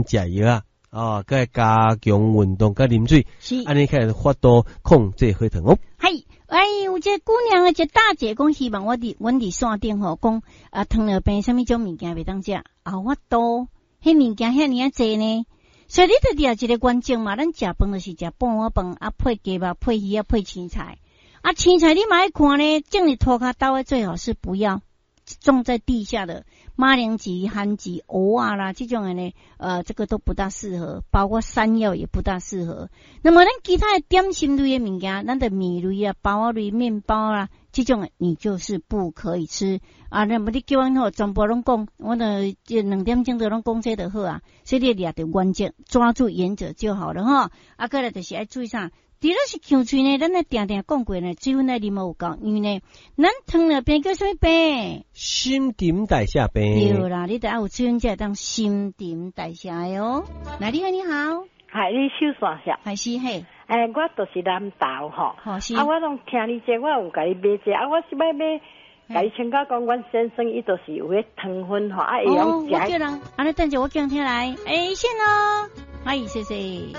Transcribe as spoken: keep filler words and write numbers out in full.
食藥啊，哦，閣加強運動，佮啉水，是，按呢較會法度控制血糖哦。係，哎，有一個姑娘，一個大姐講，希望我佇阮佇線頂吼，講啊，糖尿病啥物種物件袂當食，啊，我多，彼物件遐爾仔濟呢。所以你著著一個原則嘛，咱食飯就是食半碗飯，啊配雞肉、配魚仔、配青菜。啊，青菜你嘛愛看呢，種佇塗跤兜的最好是不要種在地下的馬鈴薯、番薯、蚵仔啦，這種的呢，呃，這個都不大適合，包括山藥也不大適合。那麼咱其他的點心類的物件，咱的麵類啊、包仔類、麵包啦，這種的你就是不可以吃啊。那麼你叫阮吼，全部攏講，我著這兩點鐘就攏講這就好啊。所以你掠著原則，抓住原則就好了吼。啊，閣來就是愛注意啥？除了是嗆喙呢，咱咧定定講過呢，水分愛啉有夠，因為呢，咱糖尿病叫啥物病？新陳代謝病。對啦，你著愛有水分才會當新陳代謝的哦。來，你好，你好。係你收線下。係是嘿。欸，我就是南投吼。好是。啊，我攏聽你這，我有共你買這，啊，我是欲買，共你請教講，阮先生伊就是有彼糖分吼，啊，會用哦，我叫人，按呢等者我叫人聽來，欸，線囉，哎，謝謝。